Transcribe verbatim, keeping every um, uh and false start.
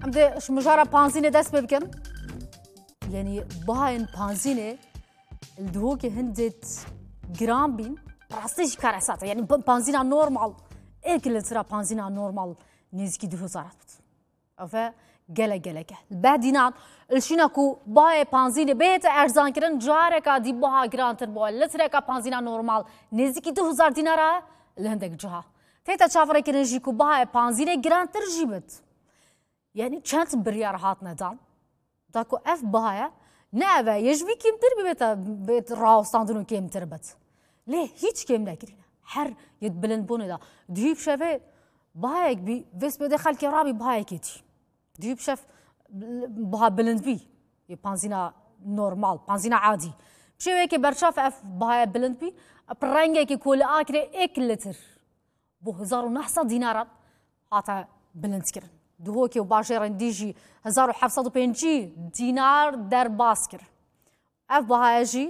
Em dê ji mijara panzînê dest pê bikin. Yanî bahayên panzînê li Duhokê hindêt giran bîn. Rastî jî karesat e. Yanî pa-, panzîna normal, êk litira panzîna normal nêzîkî du hezar hat bit. Ev e gelek gelek e. Li Behdînan li şîna ku bahayê panzînê bihête erzankirin, careka dî baha girantir bû. Litreka panzîna normal nêzîkî du hezar dînara li hindek ciha. Tête çaverêkirin jî ku bahayê panzînê girantir jî bit. Yanî çend biryar hatine dan, da ku ev baha ye, ne ev e, yê ji vî kêmtir bibête, bêt rawestandin û kêmtir bit. Lê hîç kêm nekirîne. Her yê di bilindbûnê de. Dihî bi şevê bahayek bî, vê sibê dê xelkê rabî bahayekê dî. Dihî bi şev baha bilind bî. Yê panzîna normal, panzîna adî. Bi şêweyekê berçav ev bahaya bilind bî, bi rengekê ku li akirê êk litir bo hezar û neh sed dînaran hate bilindkirin. Duhokê û bajêrên dî jî hezar û heft sed û pêncî dînar derbas kir. Ev bahaya jî